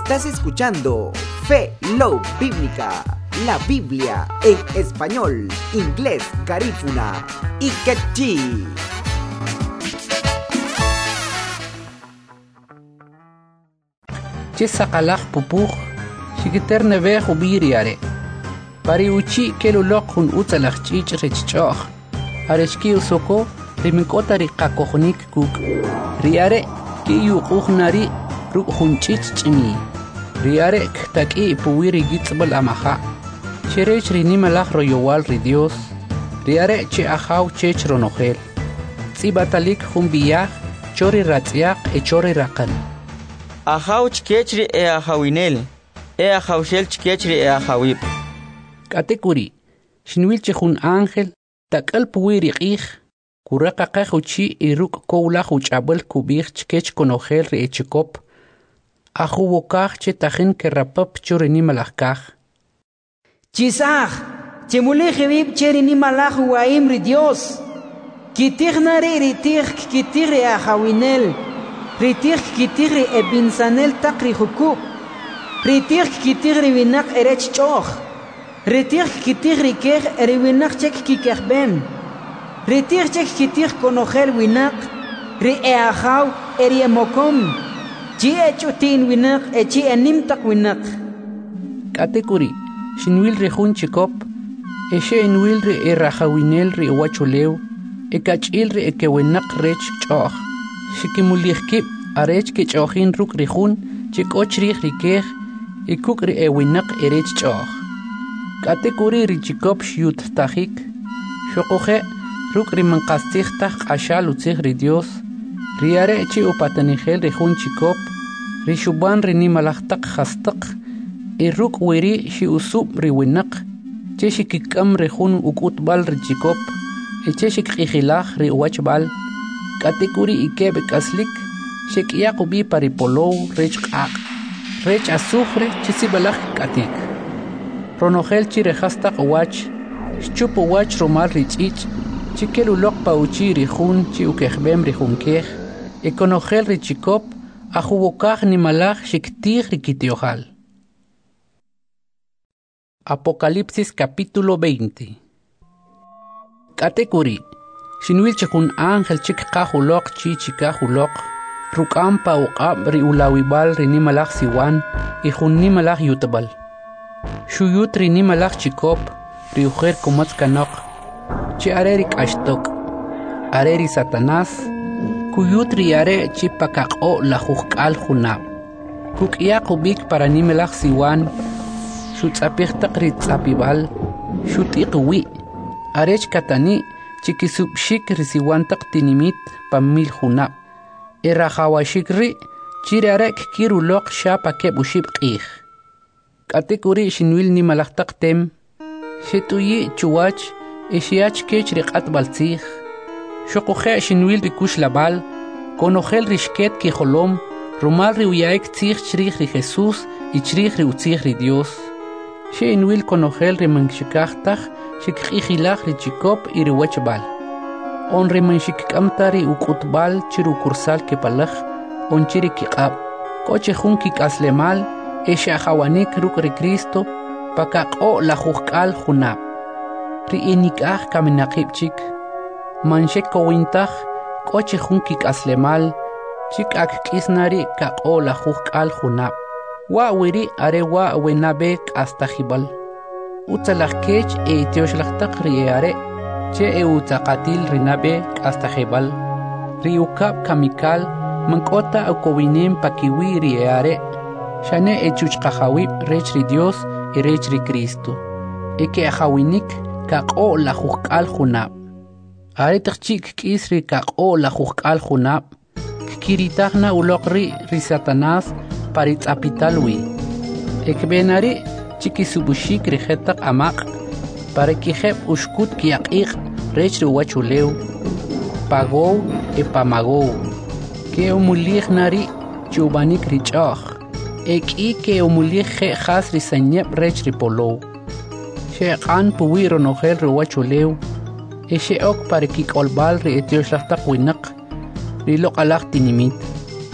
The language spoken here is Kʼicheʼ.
Estás escuchando Fe Love Bíblica, la Biblia en español, inglés, garífuna y quechí. Che saqalaj pupuj, xikiterneb'ej ub'i ri are'. Pa ri uchi' kel uloq jun utzalaj ch'ich' rech ch'o'j, arech ki'usoko ri man k'o ta ri qakojonik kuk'. Ri are' ki'yuq'uj na ri' ruk' jun ch'ich' ch'imiy. Ri are' ktak'i' puwi' ri yitz'b'al amaja', che rech ri nimalaj royowal ri Dios, ri are' che Ajaw chech ronojel. Tz'ib'atalik jun b'i'aj cho ri ratz'yaq e cho ri raqan. Ajaw chkech ri e'ajawinel, e'ajawxel chkech ri e'ajawib'. K'atek'uri', xinwil che jun ángel tak'al puwi' ri q'ij, kuraqaqej uchi' y ruk' kowlaj uch'ab'al kub'ij chkech konojel ri echikop, ajuwokaj che tajin kerapap cho ri nimalaj kaj. Chisaj, chimulij iwib' che ri nimalaj uwa'im ri Dios. Kitij na ri' ri tij kkitij ri ajawinel, ri tij kkitij ri eb'insanel taq ri jukub', ri tij kkitij ri winaq erech ch'o'j, ri tij kkitij ri kej e ri winaq che kkikejb'em, ri tij che kkitij konojel winaq, ri e'ajaw e ri emokom, chi ech'uti'n winaq e chi enim taq winaq. K'atek'uri', xinwil ri jun chikop, e xe'inwil ri erajawinel ri uwachulew, e kach'il ri ekewinaq rech ch'o'j, xikimulij kib' arech kech'o'jin ruk' ri jun che k'o chrij ri kej e kuk' ri ewinaq erech ch'o'j. K'atek'uri' ri chikop xyuttajik, xuquje' ruk' ri man qastzij taj q'axal utzij ri Dios, ri are' che upatanijel ri jun chikop, ri xub'an ri nimalaj taq jastaq, e ruk' weri' xe'usub' ri winaq che xikik'am ri jun uk'utb'al ri chikop e che xikq'ijilaj ri uwachb'al. K'atek'uri' ikeb' k'aslik xek'yaq ub'i pa ri polow rech q'aq', rech azufre che sib'alaj kk'atik. Ronojel chi ri jastaq uwach, xchup uwach rumal ri ch'ich' che kel uloq pa uchi' ri jun che ukejb'em ri jun kej, e konojel ri chikop ajuwokaj nimalaj xiktij ri kityo'jal. Apocalipsis capítulo 20. K'atek'uri', xinwil che jun ángel che kqaj uloq chi chikaj uloq, ruk'am pa uq'ab' ri ulawib'al ri nimalaj siwan y jun nimalaj yutb'al. Xuyut ri nimalaj chikop, ri ujer kumatz kanoq, che are ri k'axtok', are ri Satanás, kuyut ri are' chi pakaq'o' lajujk'al junab'. Kuk'yaq ub'ik para nimalaj siwan, xutz'apij taq ri tz'apib'al, xut'iq uwi', arech katani' chi kisub'xik ri siwan taq tinimit pa mil junab'. E rajawaxik ri' chi ri are' kkir uloq xa pa keb' oxib' q'ij. K'atek'uri' xinwil nimalaj taq tem, xet'uyi' chuwach e xya chkech ri q'atb'al tzij. Xuquje' xinwil ri kuxlab'al, konojel ri xket kijolom rumal ri uya'ik tzij chrij ri Jesús y chrij ri utzij ri Dios. Xe'inwil konojel ri man xikaj taj xikq'ijilaj ri chikop y ri wachb'al. On ri man xikk'am ta ri uk'utb'al chi rukursal kipalaj, on chi ri kiq'ab'. K'o chi jun kik'aslemal e xe'ajawanik ruk' ri Cristo pakaq'o' lajujk'al junab'. Ri enik'aj kaminaqib' chik, man xekowin taj k'o chi jun kik'aslemal chi k'a kk'is na ri kaq'o' lajujk'al junab'. Wa' weri' are wa' we nab'e k'astajib'al. Utzalaj kech e ityoxlaj taq ri e'are' che e utzaqatil ri nab'e k'astajib'al. Ri ukab' kamikal man k'o ta ukowinem pakiwi' ri e'are', xane e chuchqajawib' rech ri Dios e rech ri Cristo, e ke'ajawinik kaq'o' lajujk'al junab'. Aretaq chi' kk'is ri kaq'o' lajujk'al junab', kkiritaj na uloq ri' ri Satanás pa ri tz'apital wi. E kb'e na ri' chi kisub'uxik ri jetaq amaq' para kijeb' uxkut ki'aq'iq' rech ri uwachulew, pa Gog e pa Magog. Ke'umulij na ri' chi ub'anik ri ch'o'j, e k'i ke'umulij je' jas ri sanyeb' rech ri polow. Xe'q'an puwi' ronojel ri uwachulew, e xe'ok pa ri kik'olb'al ri etyoxlaj taq winaq, ri loq'alaj tinimit.